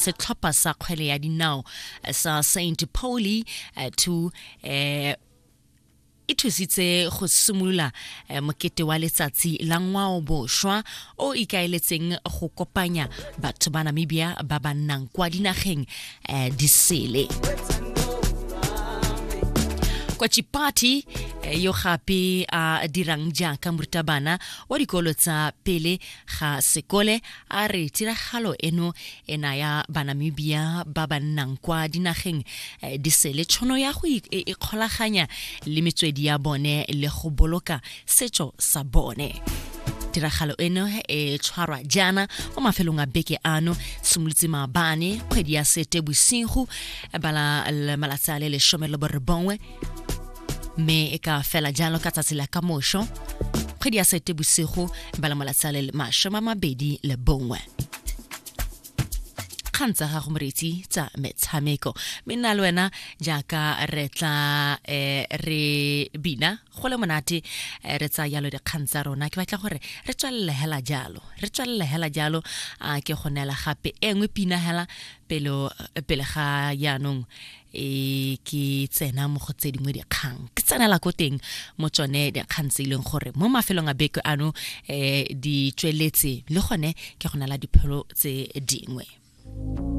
Setlhopha sa kgwele ya dinao sa St Pauli 2 e thusitse go simolola mokete wa Letsatsi la Ngwao Bošwa o ikaeletseng go kopanya batho ba Namibia ba ba nnang kwa dinageng di sele. Kwa Chipati, yo gape a dirang jaaka morutabana wa dikolo tsa pele ga sekole, a re tiragalo eno e naya Banamibia ba ba nnang kwa dinageng di sele tšhono ya go ikgolaganya le metswedi ya bone le go boloka setso sa bone. Tiragalo eno e tshwarwa jaana mo mafelong a beke ano, simolotse maabane kgwedi ya Sete Bosigo bala malatsi a le 19, mme e ka fela jalo ka tsatsi la kamošo kgwedi ya Sete Bosigo bala malatsi a le 21. Kgang tsa gago, moreetsi, tsa metshameko, mme nna le wena jaaka re tla re bina go le monate, re tsaya jalo dikgang tsa rona. Ke batla gore re tswelele hela jalo, re tswelele hela jalo. A ke go neela gape e nngwe pina hela pele ga jaanong e ke tsena mo go tse dingwe dikgang, ke tsenela ko teng mo tsone dikgang tse e leng gore mo mafelong a beke ano di tsweletse, le gone ke go nela dipholo tse dingwe.